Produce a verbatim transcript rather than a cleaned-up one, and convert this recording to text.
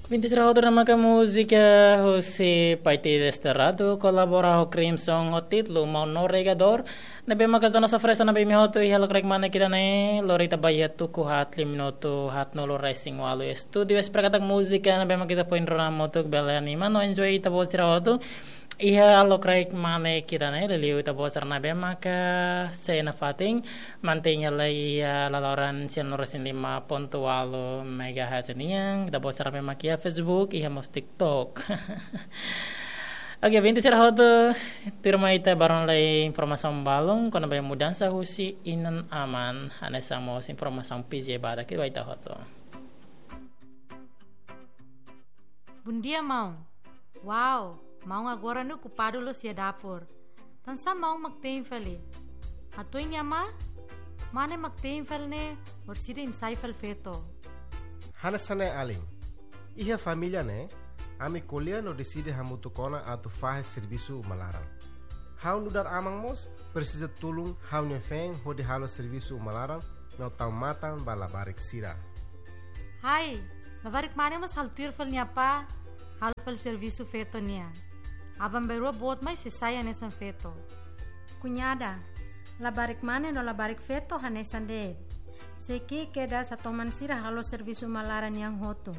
Vinti sira hotu ne'e maka múzika husi Paiti Desterrado, kolabora ho Crimson ho títulu Maun Navegadór. Ne'ebé maka zona sofresa ne'ebé imi hotu iha lokraik mane ida-ne'e, lori ita ba iha tuku haat lima minutu haatnulu resin ualu. Estúdiu Espera Katak Múzika ne'ebé maka ita foin rona hamutuk, bele anima no enjoy ita-boot sira hotu iha lokraik mane ida-ne'e, liuliu ita-boot sira ne'ebé maka sei nafatin mantein hela iha laloran sian lima pontu ualu megahertz nian, ita-boot sira ne'ebé maka iha Facebook, iha mós TikTok. Oke, vinti sira hotu, tuirmai ita ba rona lai informasaun balun kona-ba mudansa husi inan-aman, hanesan mós informasaun P J badak ba ita hotu. Bondia, maun. Wow, maun agora ne'e okupadu loos iha dapur. Tansá maun mak tein fali? Hatuan iha ne'ebá? Mane mak tein fali ne'e, orsida imi sai fali feto? Hanesan ne'e, alin. Iha família ne'e, ami ko'alia no deside hamutuk ona atu fahe servisu uma laran. Ha'u nu'udar aman mós presiza tulun ha'u-nia feen hodi halo servisu uma laran no tau matan ba labarik sira. Hai, labarik mane mós halo tuir fali nia apá halo fali servisu feto nian. Aban-bainrua boot mai sei sai hanesan feto. Kuñada, labarik mane no labarik feto hanesan de'it. Sei ki'ik kedas hatoman sira halo servisu uma laran nian hotu.